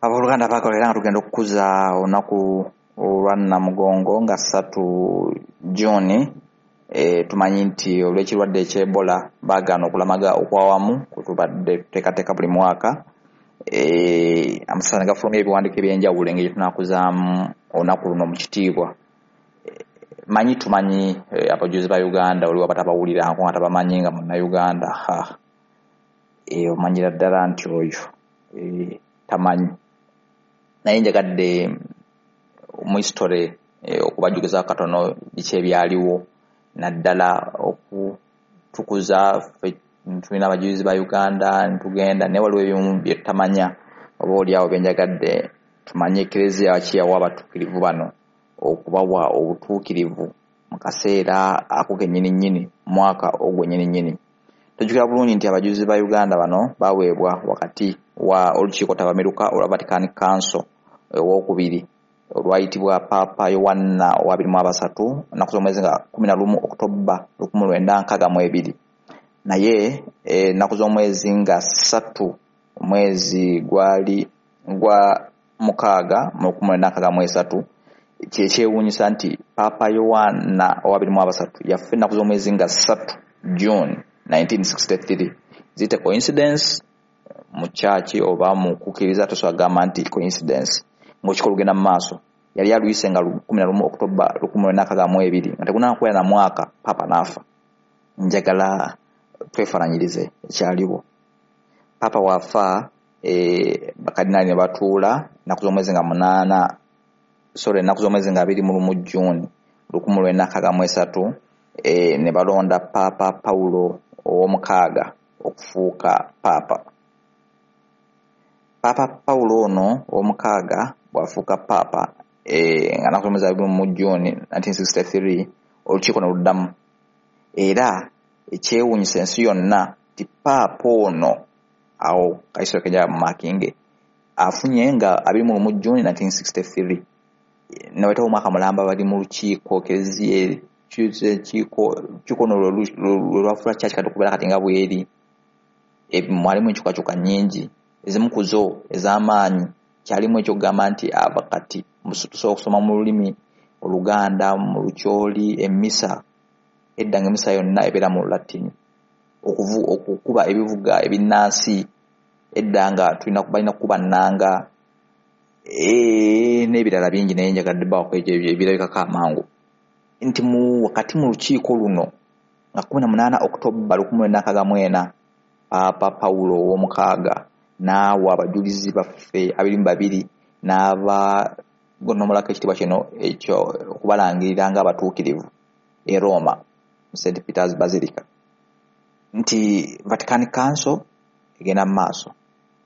Abooluganda baagala era nga tugenda okukuza olunaku olwa Namugongo nga 3 June. Tumanyi nti olw'ekirwadde eky'Ebola baagaana okulamaga okwawamu kwe tubadde tuteekateeka buli mwaka. Amasasa ne gafulumya ebiwandiiko eby'enjawulo engeri gye tunaakuzaamu olunaku luno mu kitiibwa. Manyi tumanyi abajulizi ba Uganda oliwo abatabawulirako nga tabamanyi nga munnayuganda, ha, omanyira ddala nti oyo tamanyi. Naye njagadde mu history okubajjukizaako katono biki ebyaliwo, naddala okutukuza ffe tulina abajulizi ba Uganda ntugenda, naye waliwo ebimu bye tutamanya oba oliawo bye njagadde tumanye. Ekereziya ki yawa abatuukirivu bano okubawa obutuukirivu mu kaseera ako kennyini nnyini, mwaka ogwo nnyini nnyini? Tujjukira bulungi nti abajulizi ba Uganda bano baweebwa wakati wa olukiiko ttabamiruka olwa Vatican Council owokubiri olwayitibwa Paapa Yowanna owa 23 ennaku z'omwezi nga 11 Okutoba 1962. Naye ennaku z'omwezi nga 3 omwezi gwali gwa 6 mu 1963, kyekyewuunyisa nti Paapa Yowanna owa 23 yafa ennaku z'omwezi nga 3 June 1963. Ziyite coincidence mu kyaki oba mu kukkiriza, tosobola kugamba nti coincidence ng'olukiko lugenda mu maaso. Yali aluyise nga 11 Okutoba 1962, nga tegunakuwera na mwaka paapa n'afa. Njagala twefaananyirize ekyaliwo. Paapa waafa, bakadinaali ne batuula ennaku z'omwezi nga 8, sorry, ennaku z'omwezi nga 21 June 1963, ne balonda Paapa Pawulo ow'omukaaga okufuuka paapa. Paapa Pawulo ono ow'omukaaga bw'afuuka paapa, nga nnaku z'omwezi 21 June 1963, olukiiko ne luddamu. Era ekyewuunyisa ensi yonna nti paapa ono awo kaisero kenjala mu makinge afunye nga 21 June 1963, ne wayitawo omwaka mulamba bali mu lukiiko. Ekereziya lukiiko ono lwe lwafuula kyaki kati okubeera kati nga bweri. Mwalimu enkyukakyuka nnyingi, ezimu ku zo ez'amaanyi kyalimu ekyokugamba nti aba kati tusobola okusoma mu lulimi Oluganda, mu Lukyoli emmisa. Edda nga emmisa yonna ebeera mu Lulatini. Okukuba ebivuga ebinnansi, edda nga balina kukuba nnanga, n'ebirala bingi. Naye njagadde bawako ekyo ebirabikako amangu nti wakati mu lukiiko luno nga 18 Okutoba 1964, Paapa Pawulo ow'omukaaga n'awa abajulizi baffe 22 n'abagonomolako ekitiibwa kino ekyo okubalangirira ng'abatuukirivu e Roma mu St Peter's Basilica. Nti Vatican Council egenda mu maaso,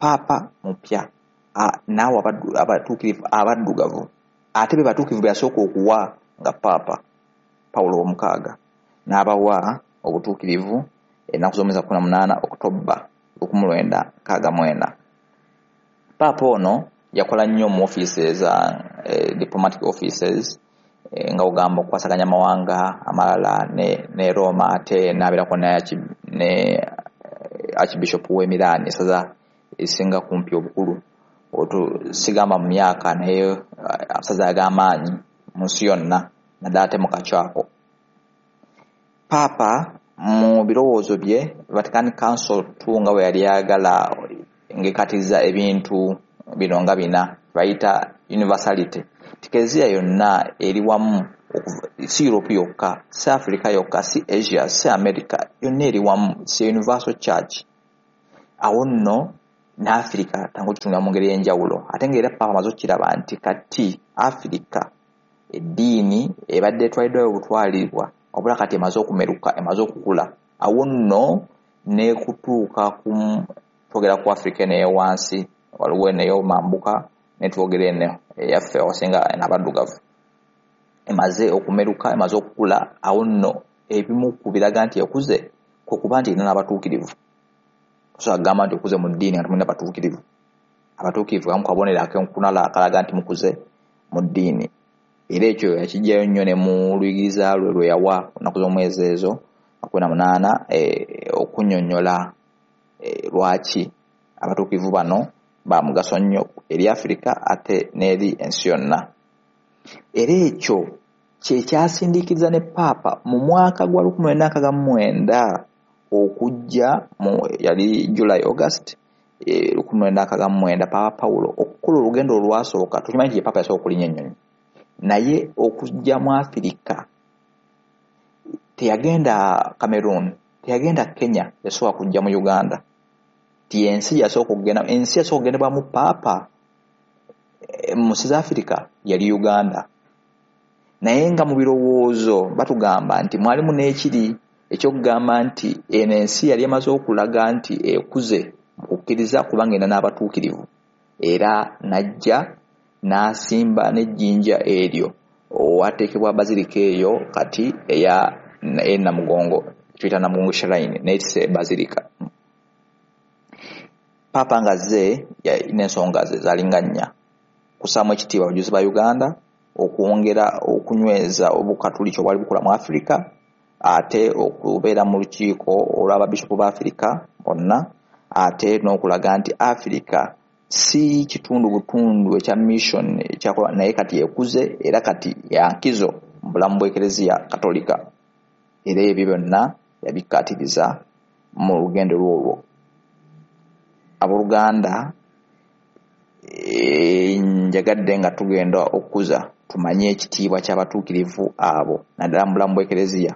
paapa mupya n'awa abatuukirivu abaddugavu, ate be batuukirivu be yasooka okuwa nga Paapa Pawulo ow'omukaaga, n'abawa obutuukirivu ennaku z'omwezi 18 Okutoba 1964. Paapa ono yakola nnyo mu offices, diplomatic offices, nga ogamba okukwasaganya amawanga amalala ne Roma, ate n'abeerako ne Archbishop w'e Milan, essaza esinga kumpi obukulu, sigamba mu myaka, naye amasaza ag'amaanyi mu nsi yonna, naddala ate mu kakyako. Paapa mu birowoozo bye, Vatican Council II nga bwe yali ayagala ng'ekatiriza ebintu bino nga bina bayita universality, Ekereziya yonna eri wamu, si Europe yokka, si Africa yokka, si Asia, si America, yonna eri wamu, si universal church. Awo nno ne Africa tangu kitunula mu ngeri ey'enjawulo. Ate ng'era paapa amaze okukiraba nti kati Africa eddiini ebadde etwaliddwayo obutwalibwa, wabula kati emaze okumeruka, emaze okukula. Awo nno n'ekutuuka ku twogera ku Africa eno eyowansi, waliwo eno ey'omambuka, ne twogera eno eyaffe awasinga abaddugavu, emaze okumeruka, emaze okukula. Awo nno ebimu ku biraga nti ekuze kwe kuba nti erina n'abatuukirivu. Tosobola kugamba nti okuze mu ddiini nga temulina batuukirivu. Abatuukirivu kamu kabonero akenkunala akalaga nti mukuze mu ddiini. Era ekyo yakiggyayo nnyo ne mu luyigiriza lwe lwe yawa ennaku z'omwezi ezo 18, okunnyonnyola lwaki abatuukirivu bano Ba mugaso nnyo eri Afirika ate n'eri ensi yonna. Era ekyo kyekyasindiikiriza ne Paapa mu mwaka gwa 1969 okujja mu yali July August 1969, Paapa Pawulo okukola olugendo olwasooka. Tukimanyi nti ye Paapa yasooka okulinnya ennyonyi, naye okujja mu Afirika teyagenda Cameroon, teyagenda Kenya, yasooka kujja mu Uganda. Ti ensi yasooka okugenda, ensi yasooka okugendebwamu Paapa mu nsi za Afirika yali Uganda. Naye nga mu birowoozo batugamba nti mwalimu n'ekiri ekyokugamba nti eno ensi yali emaze okulaga nti ekuze mu kukkiriza kubanga erina n'abatuukirivu, era n'ajja n'asimba n'ejjinja eryo owateekebwa bazilika eyo kati eya Namugongo, tuyita Namugongo Shrine, naye tise bazilika. Paapa ng'azze yalina ensonga ze zaalinga nnya: kussaamu ekitiibwa abajulizi ba Uganda, okwongera okunyweza obukatuliki obwali bukola mu Afirika, ate okubeera mu lukiiko olw'ababishopu ba Afirika bonna, ate n'okulaga nti Afirika si kitundu butundu ekya mission ekyakola, naye kati ekuze era kati yankizo mu bulamu bw'Ekereziya Katolika. Era ebyo byonna yabikkaatiriza mu lugendo lwolwo. Abooluganda, njagadde nga tugenda okukuza tumanye ekitiibwa ky'abatuukirivu abo naddala mu bulamu bw'Ekereziya.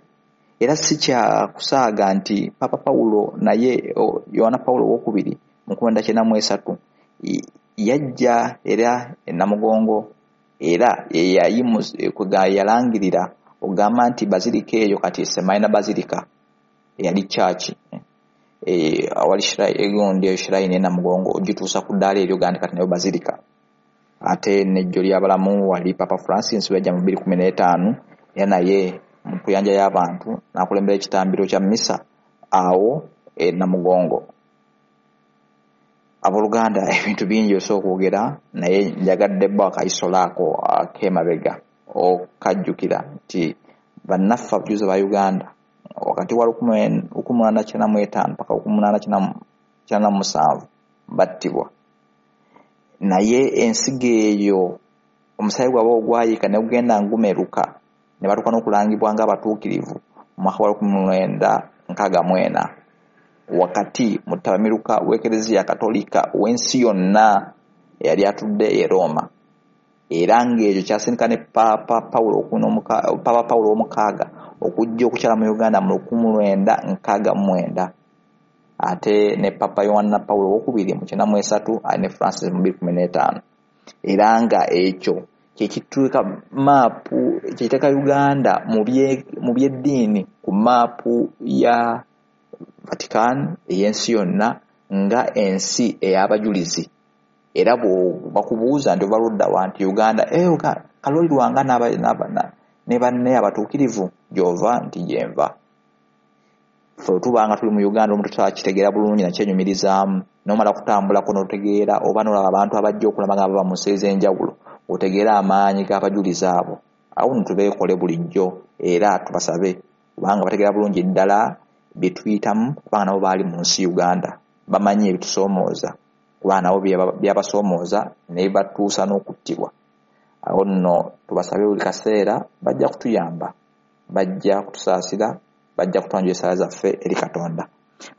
Era si kya kusaaga nti Papa Pawulo naye Yowaana Pawulo owokubiri mu 1993 yajja era e Namugongo, era yalangirira okugamba nti bazilika eyo kati Semaina Bazilika eyali church awali egundi eyo shrine e Namugongo ogituusa ku ddaala eryo gandi kati nayo bazilika. Ate n'ejjo ly'abalamu wali Papa Francis yajja mu 2015, era naye mu kuyanja y'abantu n'akulembera ekitambiro kya misa awo e Namugongo. Abooluganda, ebintu bingi osobola okwogera, naye njagadde bbo akayisola ako ak'emabega okajjukira nti bannaffe abajulizi ba Uganda wakati wa 1895 paka 1897 battibwa, naye ensigo eyo omusaayi gwabwe ogwayiika ne gugenda ngumeruka ne batuuka n'okulangibwa ng'abatuukirivu mu mwaka gwa 1964 wakati mu ttabamiruka w'Ekereziya Katolika ow'ensi yonna eyali atudde e Roma. Era ng'ekyo kyasindika ne Paapa Pawulo ow'omukaaga okujja okukyala mu Uganda mu 1969, ate ne Papa Yowanna Pawulo owokubiri mu 93, ate ne Francis mu 2015. Era nga ekyo kyekituuka maapu, kyekiteeka Uganda mu by'eddiini ku maapu ya Vatican ey'ensi yonna nga ensi ey'abajulizi. Era bakubuuza nti ova ludda wa, nti Uganda, Kalooli Lwanga ne banne abatuukirivu gy'ova, nti gyenva. Ffe tuba nga tuli mu Uganda omuntu takitegeera bulungi nakyenyumirizaamu, n'omala kutambulako n'otegeera oba n'olaba abantu abajja okulamaga bava mu nsi ez'enjawulo, otegeera amaanyi g'abajulizi abo. Awo nno tubeekole bulijjo era tubasabe, kubanga bategeera bulungi ddala bye tuyitamu, kubanga nabo baali mu nsi Uganda, bamanyi ebitusoomooza, kubanga nabo byabasoomooza ne batuusa n'okuttibwa. Awo nno tubasabe buli kaseera, bajja kutuyamba, bajja kutusaasira, bajja kutwanjula essaala zaffe eri Katonda.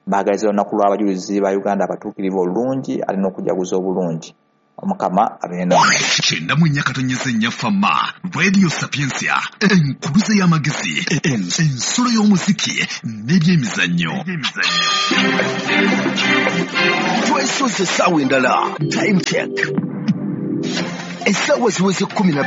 Mbaagaliza olunaku lw'abajulizi ba Uganda abatuukirivu olulungi ate n'okujaguza obulungi. Omukama abeere nammwe. 94.4 Fama Radio Sapientia, enkuluze y'amagezi, ensulo y'omuziki n'ebyemizannyo. Twesoze essaawa endala, time check. Essaawa ziweze 12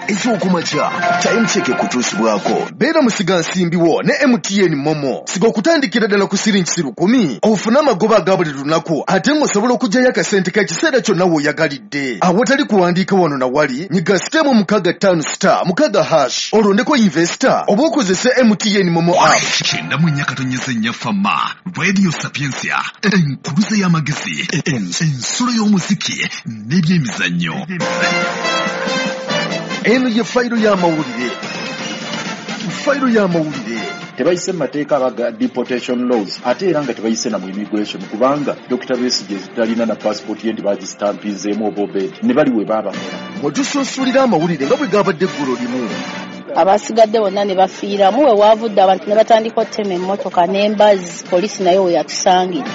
ez'okumakya. Time check ekutuusibwako. Beera musigansimbi wo ne MTN Momo. Siga okutandikira ddala ku siringi 1,000 ofune amagoba aga buli lunaku, ate ng'osobola okuggyayo akasente k'ekiseera kyonna w'oyagalidde. Awatali kuwandiika wano na wali, nyiga *656*6# olondeko investor oba okozese MTN Momo app. 94.4 Fama Radio Sapientia, enkuluze y'amagezi, ensulo y'omuziki n'ebyemizannyo. Eno ye fayiro y'amawulire. Fayiro y'amawulire. Tebayise mu mateeka abaga deportation laws, ate era nga tebayise na mu immigration, kubanga Dr. Besigye talina na passport ye nti bagistampinzeemu oba obed ne bali we baabakola. Mwetusunsulira amawulire nga bwe gabadde eggulo limu. Abasigadde bonna ne bafiiramu, we waavudde abantu ne batandika ottema emmotoka n'embazi, poliisi nayo we yatusangidde.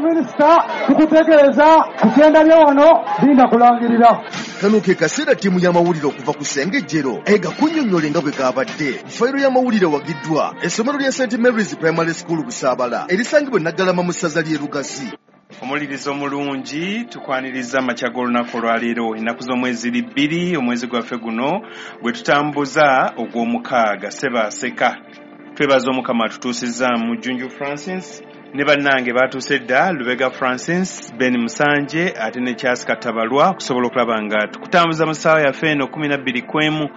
Minisita tukutegeeza ku kyenda wano linda kulangirira. Kano ke kaseera ttiimu y'amawulire okuva ku Ssengejjero egakunnyonnyole nga bwe gabadde. Fayiro y'amawulire wagiddwa essomero lya St Mary's Primary School Busaabala erisangibwa e Naggalama mu ssaza ly'e Lugazi. Omulirizo omulungi, tukwaniriza amakya g'olunaku olwaleero, ennaku z'omwezi 2 omwezi gwaffe guno gwe tutambuza ogw'omukaaga Ssebaaseka. Twebaza Omukama atutuusizza Junju Francis ne bannange batuuse dda, Lubega Francis, Ben Musanje ate ne Charles Katabalwa, okusobola okulaba nga tukutambuza mu ssaawa yaffe eno 12:01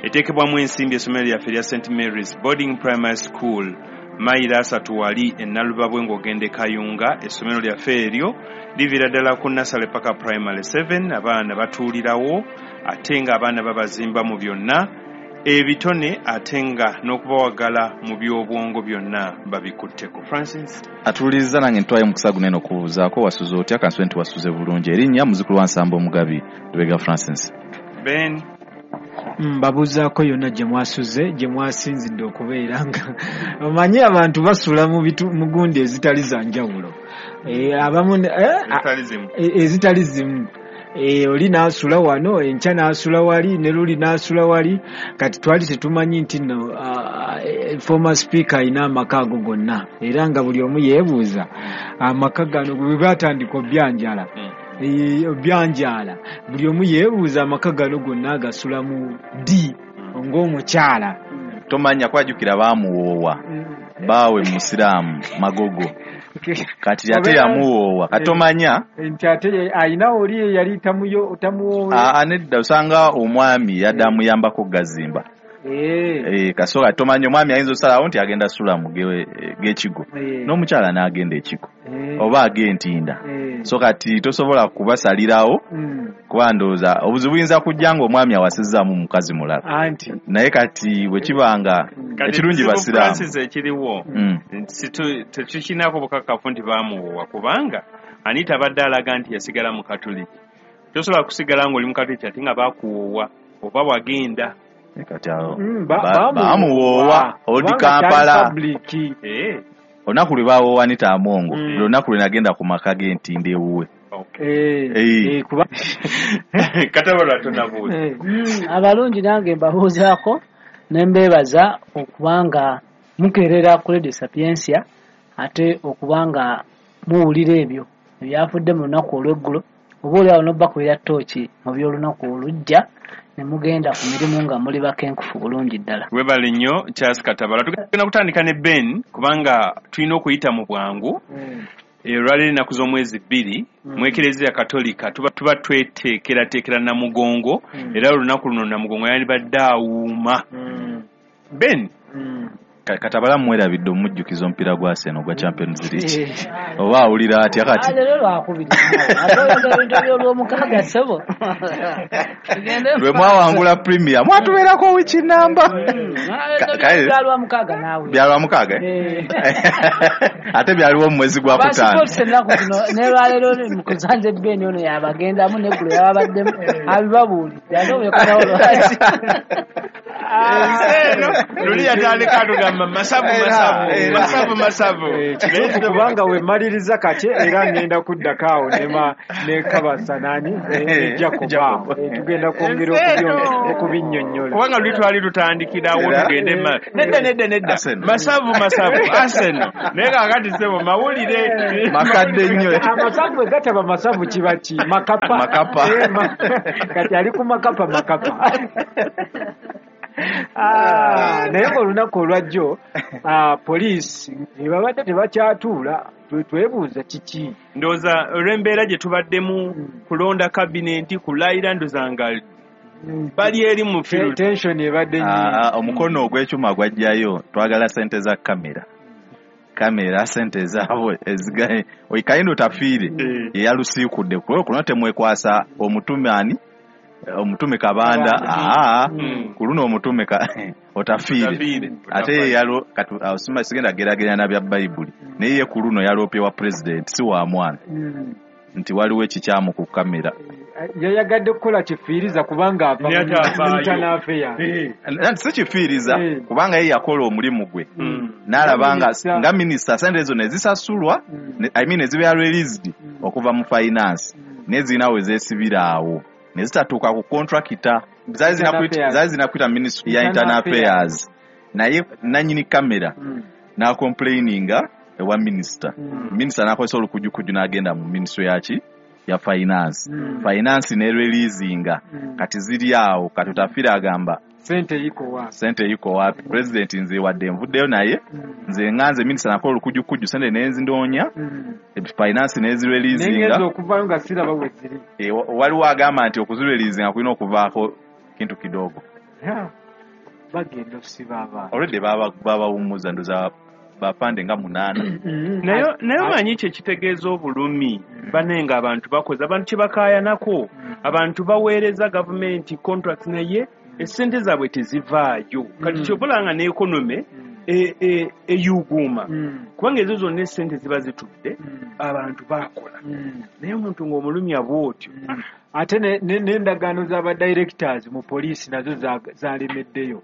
eteekebwamu ensimbi essomero lyaffe erya St Mary's Boarding Primary School, mayiro 3 wali e Nalubabwe ng'ogenda e Kayunga. Essomero lyaffe eryo liviira ddala ku Nasale paka Primary 7, abaana batuulirawo ate ng'abaana babazimba mu byonna ebitone ate nga n'okubawagala mu by'obwongo byonna babikutteko. Francis atuwuliriza nange ntwaye mukisa guno eno okubuuzaako wasuze otya? Kansube nti wasuze bulungi. Erinnya muzukulu wa Nsamba Omugabi, Lubega Francis. Ben mbabuuzaako yonna gye mwasuze, gye mwasinzidde okubeera nga omanyi abantu basula mu gundi ezitali za njawulo, abamu ezitali zimu. Oli n'asula wano, enkya n'asula wali, ne luli n'asula wali. Kati twali tetumanyi nti nno former speaker alina amaka ago gonna, era nga buli omu yeebuuza amaka gano bwe batandika obyanjala obyanjala, buli omu yeebuuza amaka gano gonna agasulamu ddi ng'omukyala. Tomanya kwajjukira baamuwoowa baawe musiraamu Magogo, kati ate yamuwoowa katomanya nti ate ayina oli yali tamuwoowa. Nedda, osanga omwami yadde amuyambako gazimba. Kasoka tomanya omwami ayinza osalawo nti agenda sula mu g'ekigo n'omukyala n'agenda ekigo oba ag'entinda. So kati tosobola kubasalirawo kuba ndowooza obuzibu buyinza kujja ng'omwami awasizzaamu mukazi mulala. Naye kati bwe kibanga ekirungi basiraamu ekiriwo tetukinako bukakafu nti baamuwoowa, kubanga Anita abadde alaga nti yasigala mu Katoliki. Tosobola kusigala ng'oli mu Katoliki ate nga baakuwoowa oba wagenda. Kati awo baamuwoowa odi Kampala. Olunaku lwe baawoowa Anita Amongo, lunaku lwe nagenda ku maka g'entinda ewuwe. Katabalwa tonabuuza. Abalungi nange mbabuuzaako ne mbeebaza okubanga mukeerera ku Radio Sapientia, ate okubanga muwulira ebyo ebyafudde mu lunaku olw'eggulo, oba oli awo n'obakubira ttooki mu by'olunaku olujja ne mugenda ku mirimu nga muli bakenkufu bulungi ddala. Webale nnyo Charles Katabala. Tugenda kutandika ne Ben kubanga tulina okuyita mu bwangu. Olwaleero ennaku z'omwezi 2 mu Eklezia Katolika tuba tweteekerateekera Namugongo, era olunaku luno Namugongo yandibadde awuuma. Ben Katabala mwerabidde omujjukiza omupiira gwa Arsenal ogwa Champions League. Oba awulira atya kati? Leero lwakubiri. Ate oyogera ebintu by'olwomukaaga ssebo. Lwe mwawangula Premier mwatubeerako wiki namba. Byalwamukaaga naawe. Byalwamukaaga? Ate byaliwo mu mwezi gwa kutaano. Basipootisa ennaku zino ne lwaleero mukuzanze Ben ono yabagendamu n'eggulo yababaddemu abibabuulidde ate obyokanawo lwaki. Luli yatandika atugamba masavu masavu masavu masavu. Kituufu kubanga wemaliriza kati era ngenda kuddako awo ne Kabasa nani ne Jacob awo tugenda kwongera okubinnyonnyola kubanga luli twali tutandikirawo tugende nedda nedda nedda masavu masavu Arsenal naye kaakati ssebo mawulire makadde nnyo. Amasavu bwe gataba masavu kiba ki makapa makapa kati ali ku makapa makapa. Naye olunaku olwajjo poliisi babadde tebakyatuula, twebuuza kiki. Ndowooza olw'embeera gye tubaddemu kulonda kabinenti kulayira ndowooza nga bali eri mu tension ebadde nnyingi. Omukono ogw'ekyuma gwajjayo twagala ssente za kamera kamera sente zaabwe ezigaye oikayindo tafiire yeyalusiikudde kuno temwekwasa omutume ani Omutume Kabanda, ku luno omutume Otafiire. Ate yalo kati osima sigenda geraganya na bya Bayibuli. Naye ye ku luno yalopye wa president si wa mwana. Nti waliwo ekikyamu ku kamera. Yayagadde kukola kifiiriza kubanga ava mu internal affairs. Si kifiiriza kubanga ye yakola omulimu gwe. N'alaba nga minisita sente ezo ne zisasulwa, I mean ezibeera released okuva mu finance. Nezirina we zeesibira awo. Ne zitatuuka ku contractor. Zaali zinakwita ministry ya internal affairs. Naye nannyini kamera n'acomplaininga ewa minisita. Minisita n'akozesa olukujjukuju n'agenda mu ministry yaki ya finance. Finance ne releasinga. Kati ziri awo kati Otafiire agamba sente iko wapi? President nze wadde nvuddeyo naye nze nganze minisita nakola olukujjukuju sente nenzindoonya finance nezireleasinga. Nengenza okuvayo nga siraba we ziri. Waliwo agamba nti okuzireleasinga kulina okuvaako kintu kidogo. Bagenda okusiba abaana. Already babawummuza ndoza bapande nga 8. Naye omanyi kye kitegeeza obulumi banenga abantu bakoze abantu kye bakaayanako abantu baweereza gavumenti contracts naye essente zaabwe tezivaayo. Kati kyobola nga n'ekonome eyuguuma kubanga ezo zonna essente ziba zitudde abantu baakola naye omuntu ng'omulumya bw'otyo. Ate n'endagaano z'aba directors mu poliisi nazo zalemeddeyo.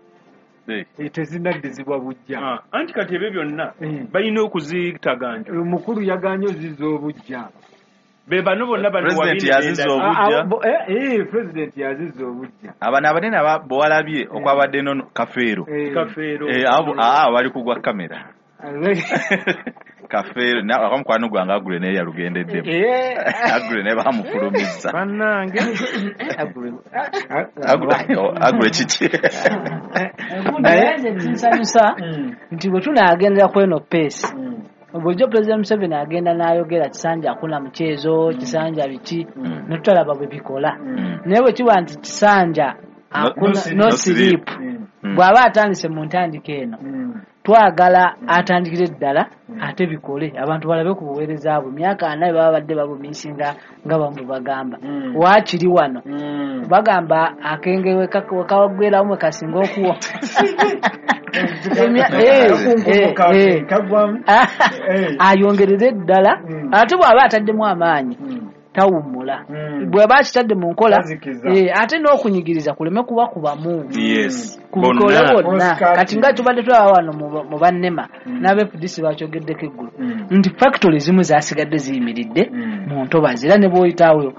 Tezinaddizibwa bujja. Anti kati ebyo byonna balina okuzitaganja. Omukulu yaganye ozizza obujja. Be bano bonna bano President yazizza obujja. President yazizza obujja. Abano abanene bwalabye okwabadde no Kafeero. Kafeero. Abo bali kugwa kamera. Kafeero akamukwano gwange Agule naye yalugendeddemu. Agule naye bamufulumizza. Bannange. Agule kiki? Naye nze kinsanyusa nti bwe tunaagendera ku eno pace bulijjo President Museveni agenda n'ayogera Kisanja akuna mchezo, Kisanja biki, ne tutalaba bwe bikola. Naye bwe kiba nti Kisanja akuna no sleep, bw'aba atandise mu ntandika eno twagala atandikire ddala ate bikole abantu balabe ku buweereza bwe. Myaka 4 baba badde babumisinga nga bamu bagamba waakiri wano bagamba akenge wekawagweramu kasinga okuwa ayongerere ddala ate bw'aba ataddemu amaanyi tawummula bw'aba akitadde mu nkola ate n'okunyigiriza kuleme kuba kubamu kubikole bonna. Kati nga tubadde tulaba wano mu bannema n'aba FDC bakyogeddeko eggulo nti factory zimu zasigadde ziyimiridde mu ntobazi era ne bw'oyitaawo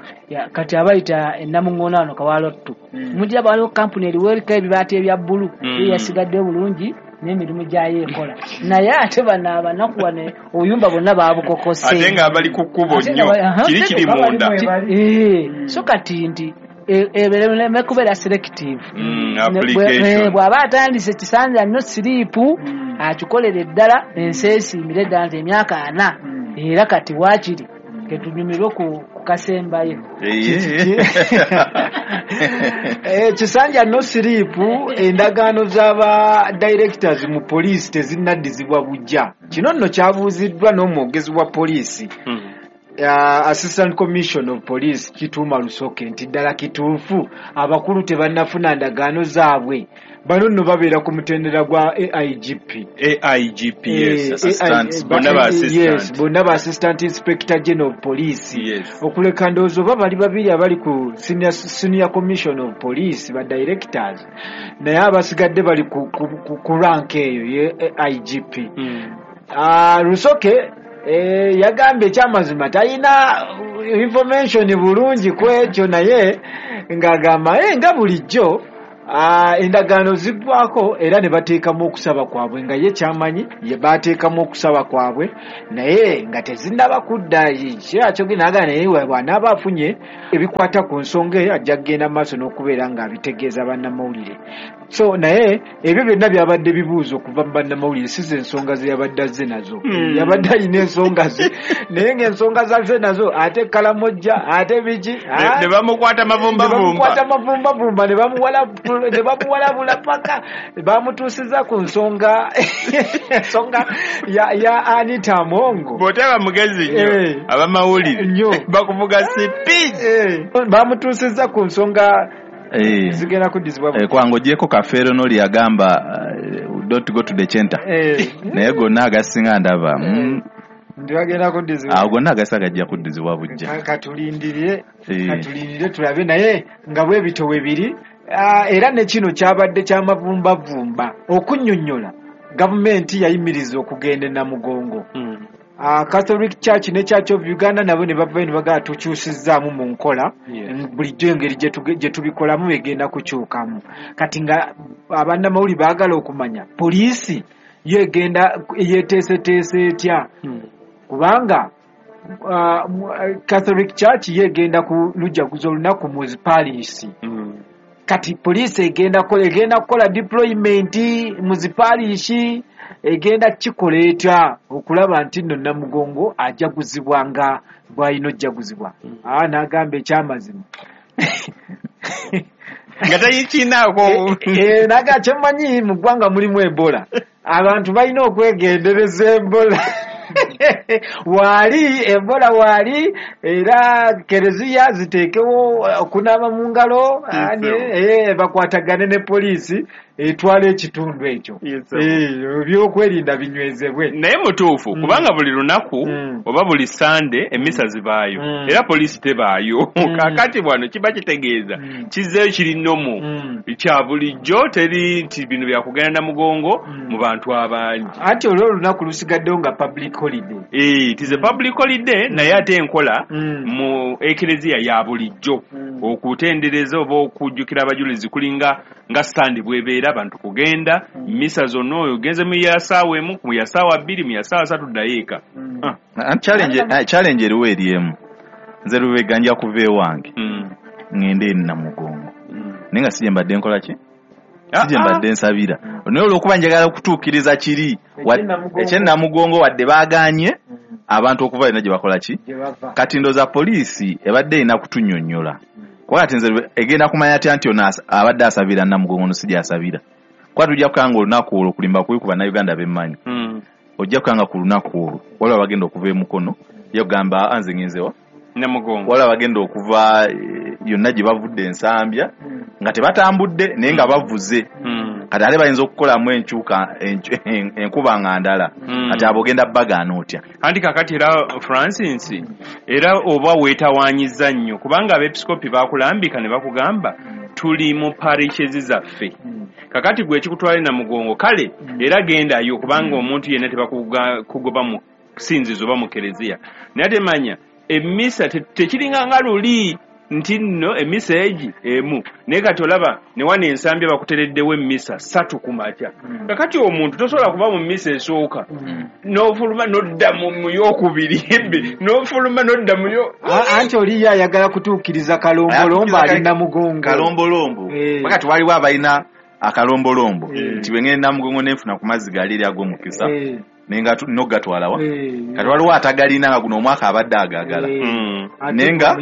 kati abayita ennamuŋŋoona wano Kawalotto mujja waliwo kampuni eriwo eriko ebibaati ebya bbulu yasigadde bulungi n'emirimu gyayo ekola naye ate bano abanaku wano obuyumba bwonna baabukokose ate nga bali ku kkubo nnyo kiri kiri munda. So kati nti ebereme kubeera selective bw'aba atandise Kisanja no sleep akikolere ddala ensi esiimire ddala nti emyaka 4 era kati waakiri ketunyumirwe ku kasembayo. Kisanja no sleep endagaano z'aba directors mu poliisi tezinnaddizibwa bujja. Kino nno kyabuuziddwa n'omwogezi wa poliisi Assistant Commissioner of Police Kituuma Lusoke nti ddala kituufu abakulu tebannafuna ndagaano zaabwe. Bano nno babeera ku mutendera gwa AIGP. AIGP, yes, assistant, bonna ba Assistant Inspector General of Police. Yes. Okuleka ndowooza oba bali babiri abali ku Senior Commission of Police ba directors naye abasigadde bali ku rank eyo ye AIGP. Lusoke yagambye ekyamazima talina information bulungi ku ekyo naye ng'agamba nga bulijjo endagaano ziggwako era ne bateekamu okusaba kwabwe nga ye kyamanyi ye bateekamu okusaba kwabwe naye nga tezinnaba kudda kyakyogenda naye bw'anaaba afunye ebikwata ku nsonga eyo ajja kugenda maaso n'okubeera ng'abitegeeza bannamawulire. So naye ebyo byonna byabadde bibuuzo okuva mu bannamawulire si ze ensonga ze yabadde azze nazo. Yabadde alina ensonga ze naye ng'ensonga zazze nazo ate Kalamojja ate biki ne bamukwata mavumbavumba ne bamuwalabula paka bamutuusiza ku nsonga ya Anita Amongo. Bw'otaba mugezi nnyo abamawulire bakuvuga sipi. Bamutuusiza ku nsonga Zigenda kuddizibwa bujja. Kwango ogyeko Kafeero n'oli yagamba don't go to the center. Naye gonna agasinga ndaba. Ndi bagenda kuddizibwa. Awo gonna agasinga gajja kuddizibwa bujja. Katulindire tulabe, naye nga bwe bityo bwe biri. Era ne kino kyabadde kyamavumbavumba okunnyonnyola gavumenti yayimiriza okugenda e Namugongo. Catholic Church ne Church of Uganda nabo ne bavayo ne bagamba tukyusizzaamu mu nkola, bulijjo engeri gye tubikolamu egenda kukyukamu. Kati nga abannamawulire baagala okumanya poliisi yo egenda yeeteeseteese etya, kubanga Catholic Church yo egenda ku lujaguza olunaku mu zipariisi. Kati poliisi egenda kukola deployment mu zipariisi, egenda kikola etya okulaba nti nno Namugongo ajaguzibwa nga bw'alina ojjaguzibwa. N'agamba ekyamazima nga tayikinaako. Naga kyemmanyi mu ggwanga mulimu Ebola, abantu balina okwegendereza Ebola. Waali Ebola waali, era kereziya ziteekewo okunaaba mu ngalo, bakwatagane ne poliisi etwala ekitundu ekyo, ebyokwerinda binywezebwe. Naye mutuufu, kubanga buli lunaku oba buli Sande emisa zibaayo, era poliisi tebaayo. Kaakati bwano kiba kitegeeza kizzeeyo kiri nomo kya bulijjo, teri nti bino byakugenda Namugongo mu bantu abangi. Anti olwo olunaku lusigaddewo nga public holiday. It is a public holiday, naye ate enkola mu ekereziya ya bulijjo okutendereza oba okujjukira abajulizi kulinga nga Sande bwebeera, abantu kugenda misa zonna. Oyo ogenze mu ya saawa 1, mu ya saawa 2, mu ya saawa 3, ddayo eka. Challenge eriwo eri emu. Nze Lubega nja kuva ewange ŋŋende e Namugongo, naye nga si gye mbadde nkola ki, si gye mbadde nsabira, naye olw'okuba njagala okutuukiriza kiri eky'e Namugongo, wadde baagaanye abantu okuva yonna gye bakola ki. Kati ndowooza poliisi ebadde erina kutunnyonnyola, kuba kati nze egenda kumanya atya nti ono abadde asabira Namugongo, no si gy'asabira? Kuba tujja kukanga olunaku olwo kulimba kubi ku Bannayuganda bemmanyi, ojja kukanga ku lunaku olwo waliwo abagenda okuva emukono ye kugamba nze ngenzewa Namugongo, waliwo abagenda okuva yonna gye bavudde Ensambya nga tebatambudde naye nga bavuze. Kati ate bayinza okukolamu enkyuka enkuba nga ndala. Kati abo ogenda bagaana otya? Anti kakati era Francis, era oba weetawaanyiza nnyo, kubanga abeepiskopi bakulambika ne bakugamba tuli mu parishes zaffe. Kakati gwe ekikutwala Namugongo, kale era gendayo, kubanga omuntu yenna tebakugoba mu sinzizo oba mu kereziya, naye ate manya emisa tekiringa nga luli nti nno emisa egi emu. Naye kati olaba ne wano Ensambya bakutereddewo emisa 3 ku makya. Kakati omuntu tosobola kuba mu misa esooka n'ofuluma n'odda mu yokubiri, n'ofuluma n'odda mu yo. Anti oli ye ayagala kutuukiriza kalombolombo ali Namugongo. Kalombolombo. Wakati waliwo abalina akalombolombo nti bwe ngenda Namugongo nenfuna ku mazzi gali eri ag'omukisa, nenga nogatwalawa. Kati waliwo atagalina nga guno omwaka abadde agagala, nenga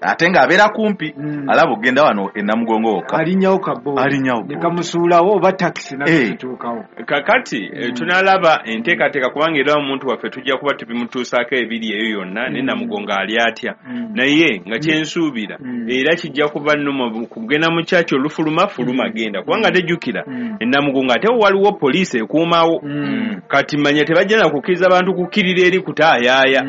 ate ng'abeera kumpi, alaba okugenda wano enamugongo wokka. Alinyawo kaboodi. Alinyawo. Nekamusuulawo oba takisi nazituukawo. Kakati tunalaba enteekateeka, kubanga era omuntu waffe tujja kuba tubimutuusaako ebiri eyo yonna ne Namugongo ali atya, naye nga kyensuubira era kijja kuba nnomo kugenda mu kyaki olufuluma fuluma genda, kubanga tejjukira enamugongo ate waliwo poliisi ekuumawo. Kati manya tebajja na kukkiriza bantu kukkirira eri kutaayaaya.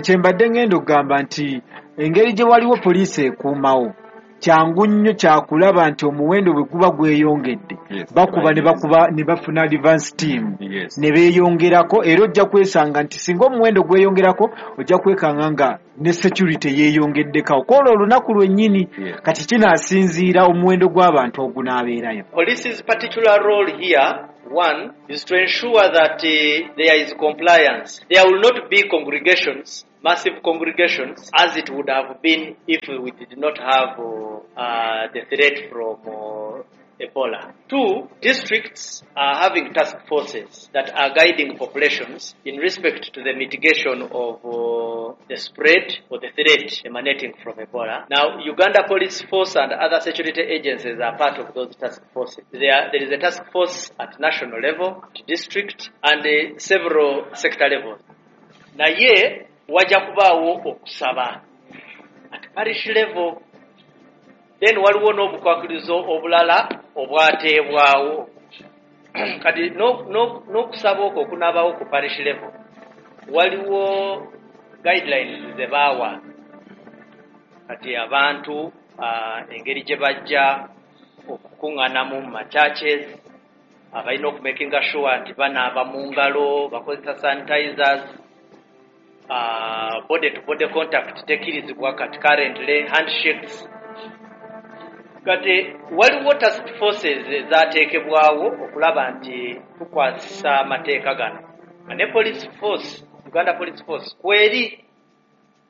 Kyembadde ngenda okugamba nti engeri gye waliwo poliisi ekuumawo, kyangu nnyo kyakulaba nti omuwendo bwe guba gweyongedde, bakuba ne bakuba ne bafuna advance team ne beeyongerako. Era ojja kwesanga nti singa omuwendo gweyongerako, ojja kwekanga nga ne security yeeyongeddekawo kwolwo olunaku lwennyini. Kati kinaasinziira omuwendo gw'abantu ogunaabeerayo. Police's particular role here, one, is to ensure that there is compliance. There will not be congregations, massive congregations, as it would have been if we did not have the threat from Ebola. Two, districts are having task forces that are guiding populations in respect to the mitigation of the spread or the threat emanating from Ebola. Now, Uganda Police Force and other security agencies are part of those task forces. There is a task force at national level, at district, and several sector levels. Naye wajja kubaawo okusaba at parish level. Then waliwo n'obukwakkulizo obulala obwateebwawo. Kati n'okusaba okwo okunaabawo ku parish level, waliwo guidelines ze baawa kati abantu engeri gye bajja okukuŋŋaanamu mu machurches, abalina okumakinga sure nti banaaba mu ngalo, bakozesa sanitizers, body to body contact tekkirizibwa kati currently, handshakes. Kati waliwo task forces ezateekebwawo okulaba nti tukwasisa amateeka gano, nga ne police force, Uganda Police Force, kweri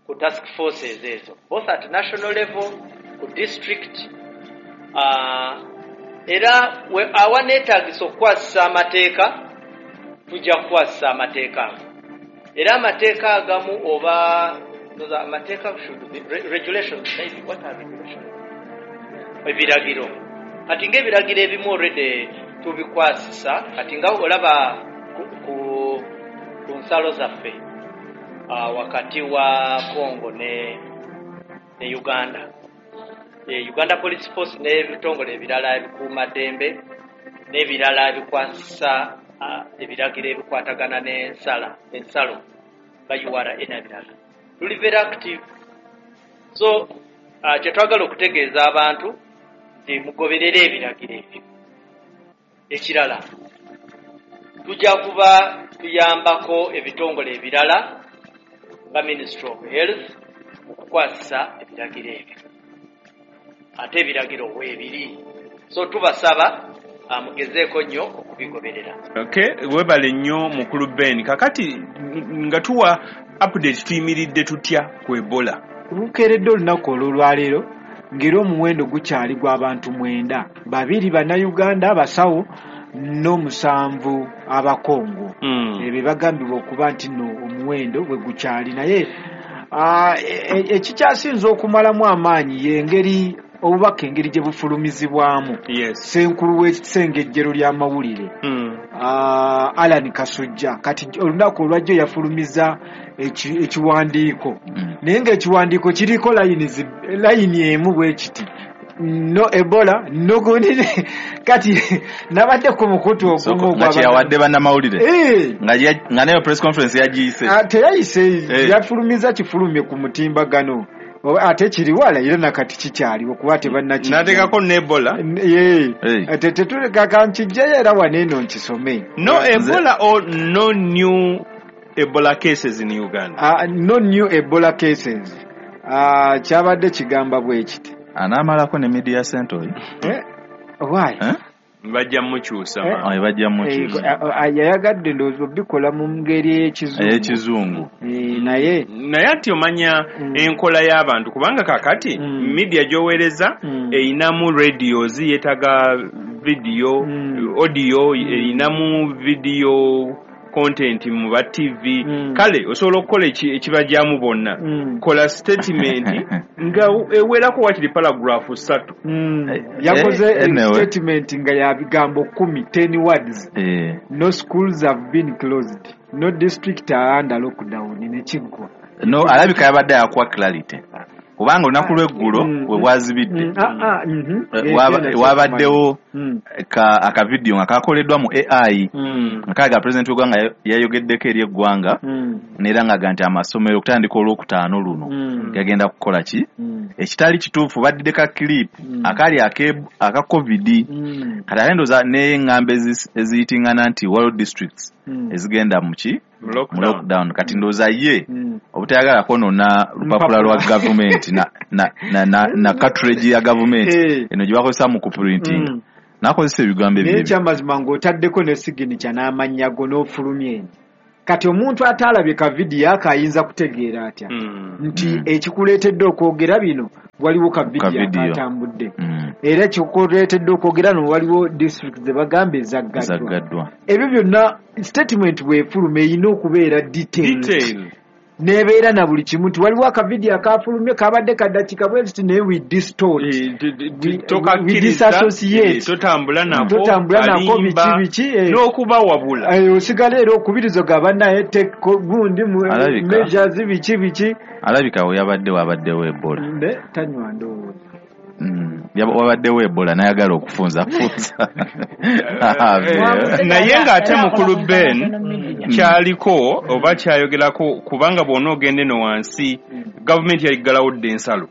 ku task forces ezo, both at national level, ku district, era awaneetaagisa okukwasisa amateeka tujja kukwasisa amateeka ago. Era amateeka agamu oba amateeka should be regulations, maybe. What are regulations? Ebiragiro. Kati ng'ebiragiro ebimu already tubikwasisa. Kati nga olaba ku nsalo zaffe wakati wa Congo ne Uganda, Uganda Police Force n'ebitongole ebirala ebikuumaddembe n'ebirala ebikwasisa ebiragiro ebikwatagana n'ensala ensalo nga URA n'ebirala, tuli very active. So kyetwagala okutegeeza abantu nti mugoberere ebiragiro ebyo. Ekirala, tujja kuba tuyambako ebitongole ebirala nga Ministry of Health okukwasisa ebiragiro ebyo, ate ebiragiro weebiri, so tubasaba mugezeeko nnyo okubigoberera. Okay, webale nnyo mukulu Ben. Kakati nga tuwa update, tuyimiridde tutya ku Ebola? Lukeeredde olunaku olw'olwaleero ng'era omuwendo gukyali gw'abantu 9, 2 Bannayuganda abasawo n'omusanvu Abakongo. Ebyo bagambibwa okuba nti nno omuwendo bwe gukyali, naye ekikyasinze okumalamu amaanyi y'engeri obubaka engeri gye bufulumizibwamu. Ssenkulu w'ekisengejjero ly'amawulire, Alan Kasujja, kati olunaku olwajjo yafulumiza ekiwandiiko, naye ng'ekiwandiiko kiriko layini emu bwe kiti: no Ebola, no gundi. Kati nabadde ku mukutu ogumu. Nga kyeyawadde bannamawulire, nga nayo press conference yagiyise. Teyayise. Yafulumiza kifulumye ku mutimbagano, ate kiri wala era nakati kikyaliwo kuba tebannaki Nateekako n'Ebola. Tetuleka nkijjayo era wano eno nkisome. No Ebola or no new Ebola cases in Uganda? No new Ebola cases. Kyabadde kigamba bwe kiti. Anaamalako ne media center oyo. Eh? Why? Eh? Bajja mukyusa. Eh, bajja mukyusa. Yayagadde ndowooza obikola mu ngeri ey'ekizungu. Ey'ekizungu. Naye Naye ati omanya enkola y'abantu, kubanga kakati media gy'oweereza erinamu radios, yeetaga video, audio, erinamu video content mu ba TV. Kale osobola okukola ekibajjamu bonna. Kola statement nga ewerako wakiri paragraph 3. Yakoze Anyway. Statement nga ya bigambo 10, 10 words: no schools have been closed, no district are under lockdown, nekiggwa. No, alabika yabadde yakuwa clarity, kubanga olunaku lw'eggulo we bwazibidde, wabaddewo akavidiyo nga kakoleddwa mu AI nga kalaga pulezidenti w'eggwanga yayogeddeko eri eggwanga, neera ng'aga nti amasomero okutandika Olwokutaano luno gagenda kukola ki, ekitali kituufu. Baddidde ka clip akali aka COVID. Kati ate ndowooza n'eŋŋambo eziyitingana nti waliwo districts ezigenda mu ki, mu lockdown. Kati ndowooza ye obutayagala kwonoona lupapula lwa gavumenti na cartridge ya gavumenti eno gye bakozesa mu kuprinting, n'akozesa ebigambo Naye ebyo. Ekyamazima ng'otaddeko ne signature n'amannya go n'ofulumya eno, kati omuntu ataalabye ka vidiyo ako ayinza kutegeera atya nti ekikuleetedde okwogera bino waliwo ka vidiyo Ka video. akatambudde, era ekikuleetedde okwogera no waliwo district ze bagamba ezaggaddwa? Ezaggaddwa. Ebyo byonna statement bwefuluma erina okubeera detailed, Detail. Nebeera na buli kimu nti waliwo akavidiyo akafulumye kabadde kadakika bwe kiti, naye we distort, we Tokakkiriza, disassociate. Totambula nako. Totambula nako. Kalimba, Biki biki. N'okubawabula. Osigala era okubirizo ga bannaye gundi Alabika. measures biki biki. Alabika we yabadde wabaddewo Ebola. Mbe tanywa ndowooza. Wabaddewo Ebola n'ayagala okufunzafunza. Naye ng'ate mukulu Ben kyaliko oba kyayogerako, kubanga bw'ona ogenda eno wansi, gavumenti yaggalawo dda ensalo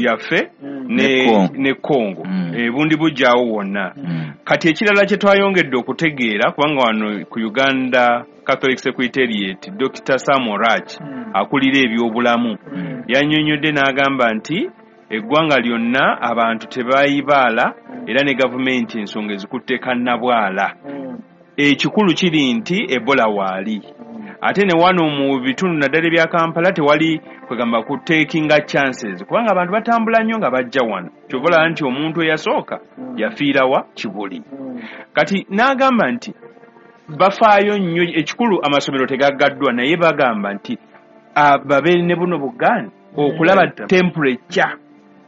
yaffe ne Congo, ebundi bujjaawo wonna. Kati ekirala kye twayongedde okutegeera, kubanga wano ku Uganda Catholic Secretariat Dr. Sam Orach akulira ebyobulamu yannyonnyodde n'agamba nti eggwanga lyonna abantu tebayibaala era ne gavumenti ensonga ezikutte kannabwala. Ekikulu kiri nti Ebola waali, ate ne wano mu bitundu naddala ebya Kampala tewali kwegamba ku takinga chances, kubanga abantu batambula nnyo nga bajja wano. Kyova olaba nti omuntu eyasooka yafiirawa Kibuli. Kati n'agamba nti bafaayo nnyo, ekikulu amasomero tegaggaddwa, naye bagamba nti babeere ne buno bugaani okulaba temperature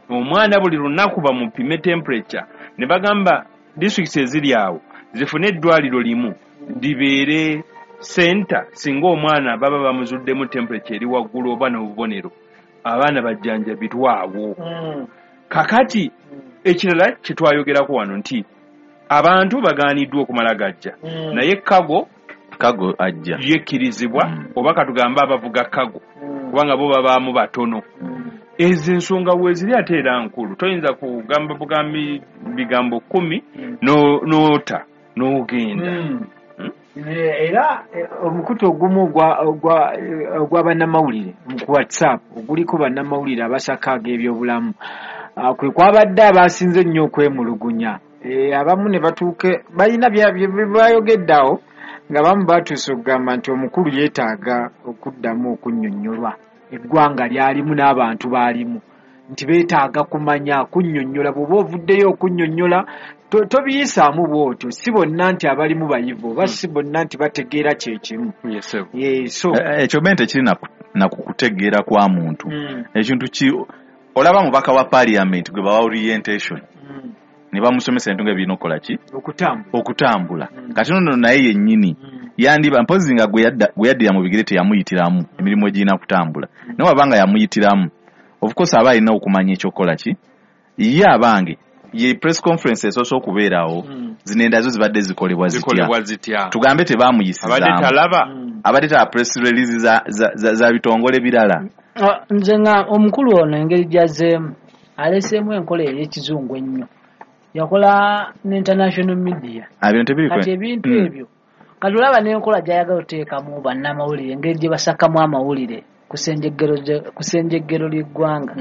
omwana buli lunaku bamupime temperature, ne bagamba districts eziri awo zifune eddwaliro limu libeere center, singa omwana baba bamuzuddemu temperature eri waggulu oba n'obubonero, abaana bajjanjabirwawo. Kakati ekirala kye twayogerako wano nti abantu bagaaniddwa okumala gajja, naye kago ajja yekkirizibwa, oba katugambe abavuga kago kubanga bo babaamu batono. Ezo ensonga weeziri ate era nkulu, toyinza kugamba bugambi bigambo 10 n'ota n'ogenda. Era omukutu ogumu ogwa bannamawulire ku WhatsApp oguliko bannamawulire abasaka ag'ebyobulamu, kwe kwabadde abasinze ennyo okwemulugunya. Abamu ne batuuke balina bye bayogedde awo, nga bamu batuuse okugamba nti omukulu yeetaaga okuddamu okunnyonnyolwa eggwanga lyalimu n'abantu baalimu, nti beetaaga kumanya kunnyonnyola. Bw'oba ovuddeyo okunnyonnyola tobiyisaamu bw'otyo, si bonna nti abalimu bayivu oba si bonna nti bategeera kye kimu. Ekyo ben tekiri na kukutegeera kwa muntu. Ekintu ki olaba mubaka wa parliament gwe bawa orientation ne bamusomesa ebintu nga birina okukola ki, okutambula. Kati nno naye yennyini yandiba mpozi nga gwe yaddira mu bigere teyamuyitiramu emirimu egirina kutambula, naye wabanga yamuyitiramu, of course aba alina okumanya ekyokukola ki. Ye abange ye press conference esoose okubeerawo, zino endazo zibadde zikolebwa zitya, tugambe tebamuyisizaamu, abadde talaba press release za bitongole birala. Nze nga omukulu ono engeri gy'azzeemu aleseemu enkola ey'ekizungu ennyo, yakola ne international media kati ebintu ebyo kati olaba n'enkola gy'ayagala oteekamu bannamawulire, engeri gye basakamu amawulire ku ssenjeggero ly'eggwanga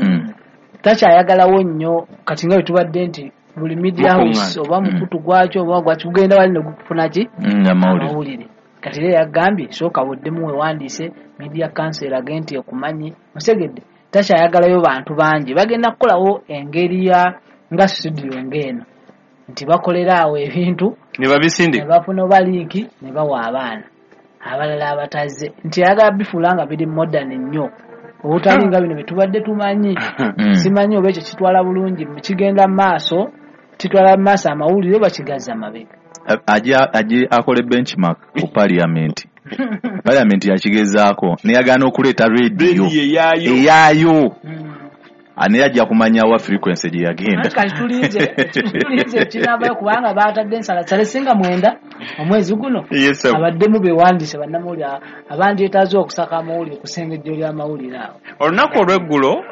takyayagalawo nnyo. Kati nga bwe tubadde nti buli media house oba mukutu gwakyo oba gwaki gugenda wali ne gufuna ki amawulire. Kati era yagambye sooka buddemu weewandiise media council erage nti ekumanyi musegedde. Takyayagalayo bantu bangi, bagenda kukolawo engeri ya nga studio ng'eno nti bakolera awo ebintu ne babisindika, ne bafuna oba linki ne bawa abaana abalala abatazze, nti ayagala bifuula nga biri modern nnyo obutali nga bino bye tubadde tumanyi. Simanyi oba ekyo kitwala bulungi, kigenda mu maaso, kitwala mu maaso amawulire oba kigazza mabega. Aje akole benchmark ku parliament. Parliament yakigezaako neyagaana okuleeta radio eyaayo, naye ajja kumanya wa frequency gye yagenda. Kati tulinze ekinaabayo kubanga baatadde ensalasale singa 9 omwezi guno abaddemu beewandiise bannamawulire abandyetaaze okusaka amawulire ku ssengejjo ly'amawulire awo. Olunaku olw'eggulo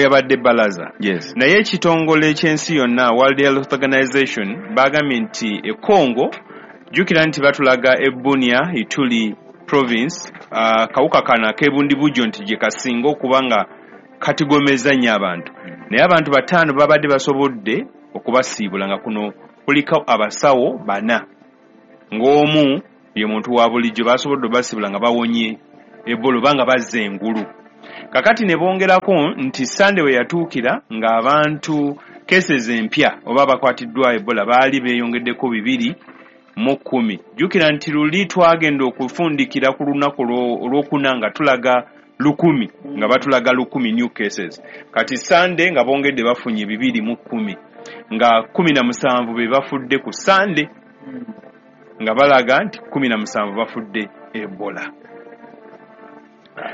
yabadde balaza. Naye ekitongole eky'ensi yonna World Health Organization bagambye nti e Congo, jjukira nti batulaga e Bunia, Ituri province, kawuka kano ak'ebundibujjo nti gye kasinga okuba nga katigomeza nnyo abantu, naye abantu 5 babadde basobodde okubasiibula, nga kuno kuliko abasawo 4 ng'omu ye muntu wa bulijjo, basobodde obasiibula nga bawonye Ebola oba nga bazza engulu. Kakati ne bongerako nti Sande we yatuukira ng'abantu cases empya oba abakwatiddwa Ebola baali beeyongeddeko 210. Jjukira nti luli twagenda okufundikira ku lunaku olwokuna nga tulaga 1000, nga batulaga 1000 new cases. Kati Sande nga bongedde bafunye 210, nga 17 be bafudde ku Sande, nga balaga nti 17 bafudde Ebola.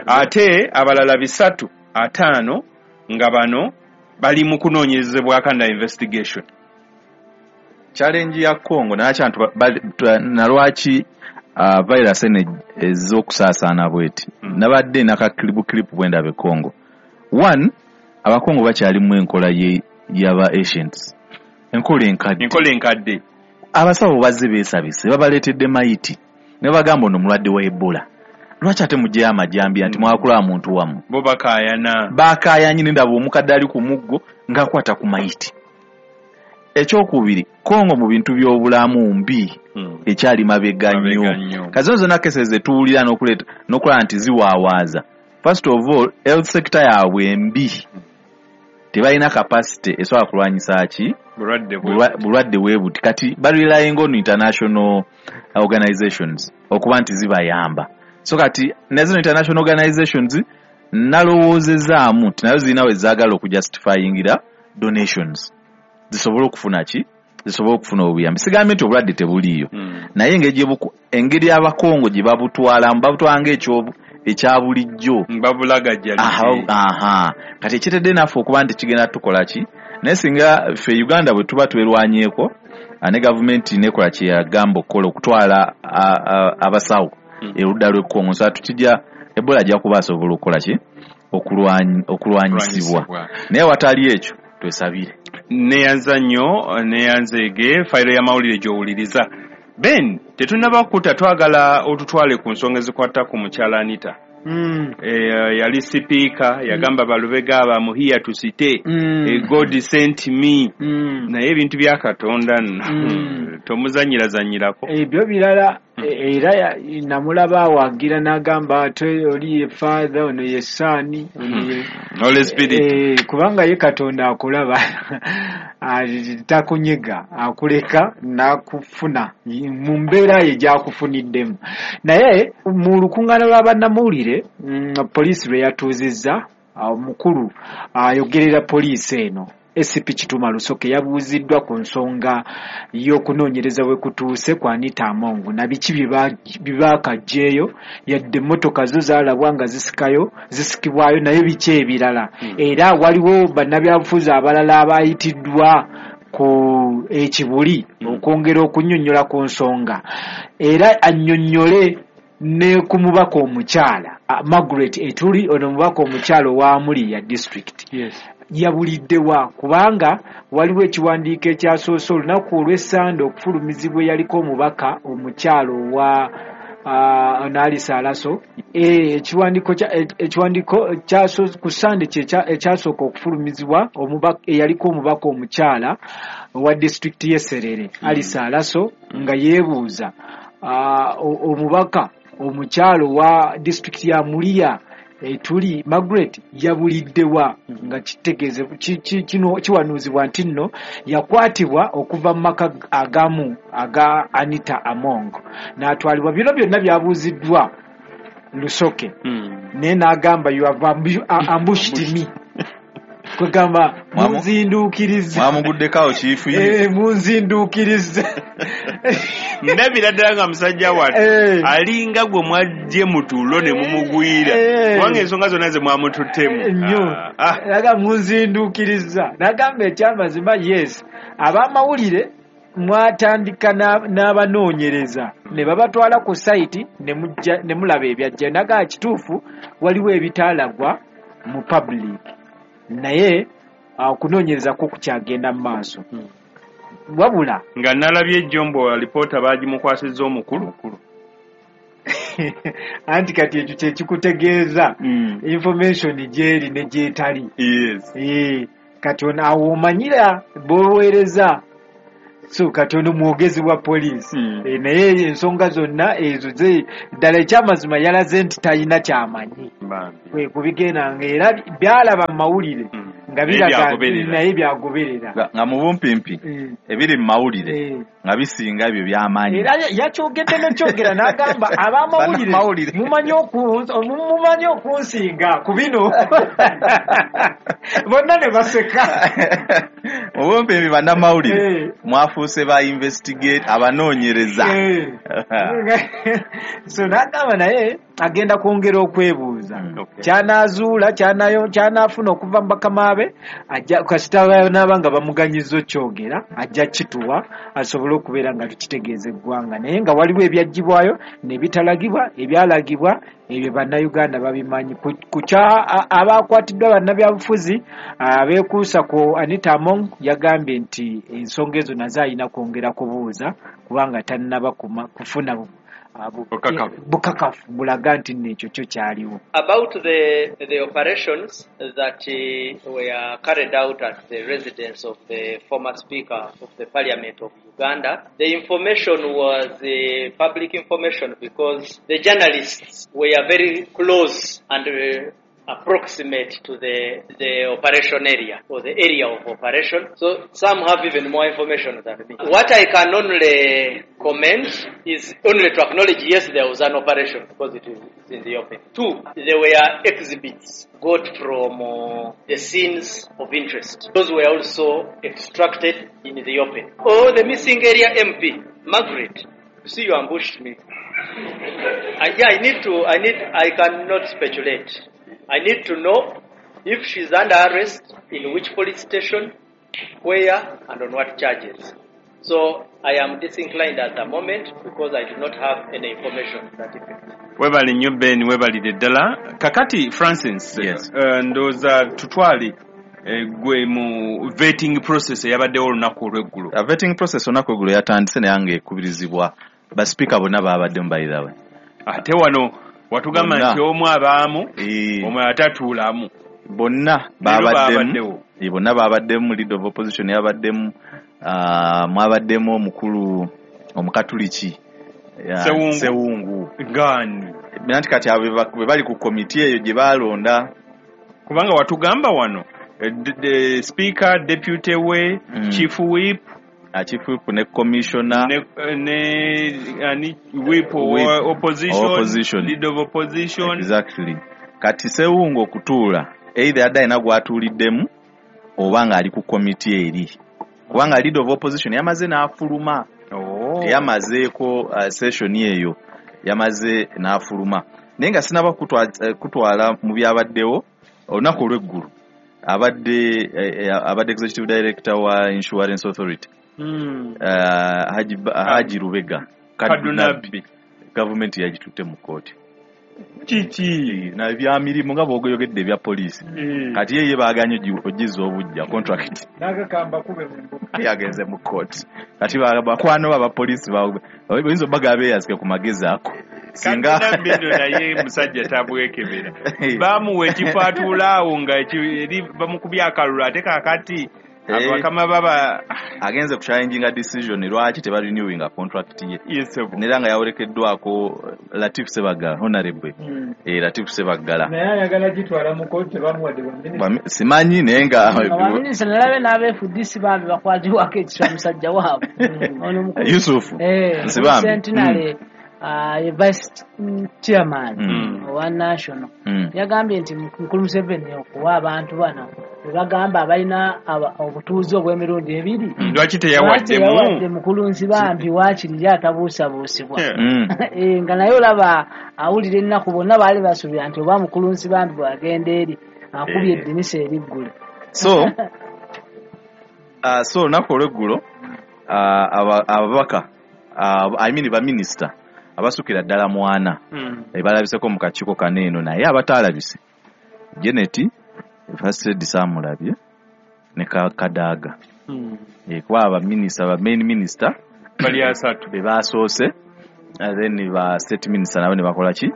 Ate abalala 305 nga bano Bali mu kunoonyerezebwako under investigation. Challenge ya Congo nalwaki virus eno ez'okusaasaana bweti. Nabadde nakakilibu clip bwendaba e Congo. One, Abakongo bakyalimu enkola y'aba ancients. Enkola enkadde. Abasawo bazze beesabise babaleetedde mayiti ne bagamba ono mulwadde wa Ebola. Lwaki ate muggyeyo amajambiya nti mwakulaba muntu wammwe? Bo bakaayana. Bakaayanye ne ndaba omukadde ali ku muggo ng'akwata ku mayiti. Ekyokubiri, Congo mu bintu by'obulamu mbi ekyali mabega nnyo. Kati zino zonna cases zetuwulira n'okulaba nti ziwaawaaza. First of all, health sector yaabwe mbi. Tebalina capacity esobola kulwanyisa ki? Bulwadde bwe buti. Kati barelying on international organizations okuba nti zibayamba. So kati ne zino international organizations nalowoozezaamu nti nazo zirina we zaagala okujustifyingira donations. Zisobole okufuna ki? Zisobole okufuna obuyambi. Sigambye nti obulwadde tebuliiyo. Naye engeri Abakongo gye babutwalamu, babutwala ng'ekya bulijjo. Babulagajjalidde. Kati ekiretedde naffe okuba nti kigenda tukola ki? Naye singa ffe Uganda bwe tuba twerwanyeeko, ne gavumenti nekola kye yagamba okukola okutwala abasawo erudda lw'e Congo. So tukijja Ebola ajja kuba asobola okukola ki? Okulwanyisibwa. Naye watali ekyo twesabire. Neyanza nnyo, neyanzeege fayiro y'amawulire gy'owuliriza. Ben, tetunnaba kukuta, twagala otutwale ku nsonga ezikwata ku mukyala Anita. Yali sipiika, yagamba balubega abamuhiya tusite, God sent me. Naye ebintu bya Katonda nno tomuzanyirazanyirako. Ebyo birala era namulaba awagira n'agamba ate oli ye Father, ono ye Son, ono ye Holy Spirit. Kubanga ye Katonda akulaba takunyega, akuleka n'akufuna mu mbeera ye gy'akufuniddemu. Naye mu lukuŋŋaana lwa bannamawulire poliisi lwe yatuuzizza, omukulu ayogerera poliisi eno SCP Kituma Lusoke yabuuziddwa ku nsonga y'okunoonyereza bwe kutuuse ku Anita Among na biki bye baakaggyeyo, yadde emmotoka zo zaalabwa nga zisikibwayo, naye biki ebirala. Era waliwo bannabyabufuzi abalala abayitiddwa ku ekibuli okwongera okunnyonnyola ku nsonga, era annyonnyole ne ku mubaka omukyala Margaret Etuli, ono mubaka omukyala owa Mulia district. Yabuliddewa kubanga waliwo ekiwandiiko ekyasoose olunaku olw'Essande okufulumizibwa eyaliko omubaka omukyala owa Alice Alaso. Ekiwandiiko ku Ssande ekyasooka okufulumizibwa eyaliko omubaka omukyala owa disitulikiti y'e Serere Alice Alaso nga yeebuuza omubaka omukyala owa disitulikiti ya Mulia Etuli Margaret yabuliddewa, nga kitegeeze kiwanuuzibwa nti nno yakwatibwa okuva mu maka agamu aga Anita Among n'atwalibwa. Bino byonna byabuuziddwa Lusoke naye n'agamba you have ambushed me. Kwegamba munzinduukiriza. Mwamuguddeko chief ye. Munzinduukiriza. Ndabira ddala nga musajja wattu alinga gwe mwajje mutulo ne mumugwira. Kubanga ensonga zonna ze mwamututtemu. Nnyo. Naga munzinduukiriza. Nagamba ekyamazima yes. Abamawulire mwatandika n'abanoonyereza ne babatwala ku site ne mulaba ebyajja. Naga kituufu waliwo ebitaalagwa mu public. Naye okunoonyereza kwo kukyagenda mu maaso. Wabula nga nalabye ejjombo alipoota baagimukwasizza omukulu. Anti kati ekyo kye kikutegeeza information gy'eri ne gy'etali. Yes. Kati ono awo omanyira b'oweereza. So kati ono mwogezi wa poliisi. Naye ensonga zonna ezo ddala ekyamazima yalaze nti talina kyamanyi. Kwe kubigenda nga era byalaba mu mawulire nga biraga naye byagoberera. Nga mu bumpimpi ebiri mu mawulire nga bisinga ebyo by'amanyi. Era yakyogedde n'okyogera n'agamba ab'amawulire mumanyi okunsinga ku bino. Bonna ne baseka. Mu bumpimpi bannamawulire mwafuuse ba investigate abanoonyereza. So n'agamba naye Agenda kwongera okwebuuza. Ky'anaazuula, ky'anaafuna okuva mu bakama be, ajja kasita n'aba nga bamuganyiza okyogera, ajja kituwa asobole okubeera nga tukitegeeza eggwanga. Naye nga waliwo ebyaggyibwayo ne bitalagibwa, ebyalagibwa ebyo Bannayuganda babimanyi. Ku kya abakwatiddwa bannabyabufuzi abeekuusa ku Anita Among, yagambye nti ensonga ezo nazo alina kwongera kubuuza kubanga tannaba kufuna bukakafu bulaga nti nno ekyo kyo kyaliwo. About the operations that were carried out at the residence of the former Speaker of the Parliament of Uganda, the information was public information because the journalists were very close and approximate to the operation area or the area of operation. So some have even more information than me. What I can only comment is only to acknowledge, yes, there was an operation because it is in the open. 2, there were exhibits got from the scenes of interest. Those were also extracted in the open. Oh, the missing area MP, Margaret. You see, you ambushed me. I cannot speculate. I need to know if she's under arrest, in which police station, where, and on what charges. So I am disinclined at the moment because I do not have any information to that effect. Webale nnyo Ben, webalire ddala. Kakati Francis, yes. Ndowooza tutwale gwe mu vetting process eyabaddewo olunaku olw'eggulo. Vetting process olunaku olw'eggulo yatandise naye nga ekubirizibwa basipiika bonna babaddemu by the way. Ate wano watugamba nti omu abaamu, omulala tatuulamu. Bonna babaddemu. Bonna babaddemu, leader of opposition yabaddemu, mwabaddemu omukulu omukatuliki Sewungu. Gani. Nanti kati abo bwe bali ku komiti eyo gye balonda. Kubanga watugamba wano speaker, deputy we, chief whip, chief whip ne commissioner ne whip opposition, leader of opposition. Exactly. Kati Sewungu okutuula either adda alina gw'atuuliddemu oba ng'ali ku komiti eri, kubanga leader of opposition yamaze n'afuluma. Yamazeeko session eyo, yamaze n'afuluma. Naye nga sinaba kutwala mu byabaddewo olunaku olw'eggulu, abadde executive director wa Insurance Authority Haji Lubega Kadunabi, gavumenti yagitutte mu kkooti. Kiki? Na bya mirimu nga bw'oyogedde ebya poliisi. Kati ye baaganye ogizza obujja contract. N'agakamba kube mu mbuga. Yagenze mu kkooti. Kati bakwano abapoliisi bayinza obbaga beeyazike ku magezi ako. Singa Kadunabi naye musajja tabwekebera. Bamuwa ekifo atuulaawo nga eri bamukubye akalulu ate kaakati abakama baba agenze ku challenginga decision lwaki teba renewinga contract ye. Yes, nera nga yawerekeddwako Latif Sebaggala, honorable. Latif Sebaggala. Naye ayagala gitwala mu kooti tebamuwadde bwa minisita. Simanyi naye nga baminisita nalabe n'aba FDC bambi bakwatibwako ekisa musajja waabwe. Ono mukulu Yusuf Nsibambi Centenary vice chairman owa national yagambye nti Mukulu Museveni okuwa abantu bano bagamba abalina obutuuze obw'emirundi ebiri. Lwaki teyawadde Mukulu Nsibambi waakiri atabuusabuusibwa. Nga naye olaba awulira ennaku, bonna baali basuubira nti oba Mukulu Nsibambi bw'agenda eri akubye eddinisa eriggule. So olunaku olw'eggulo ababaka I mean baminisita abasukira ddala mwana balabiseko mu kakiiko kano eno, naye abataalabise Janet First Lady Samulabye ne Kadaga. Kuba abaminisita ba main minister bali asatu be basoose, then ba state minister nabo ne bakola ki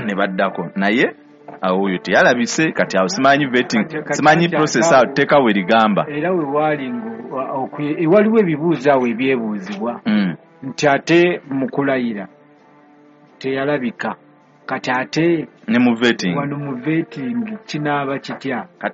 ne baddako, naye awo oyo teyalabise. Kati awo simanyi vetting, simanyi process awo teeka we ligamba. Era we waali waliwo ebibuuzo awo ebyebuuzibwa nti ate mu kulayira teyalabika, kati ate ne mu vetting, wano mu vetting kinaaba kitya? Kati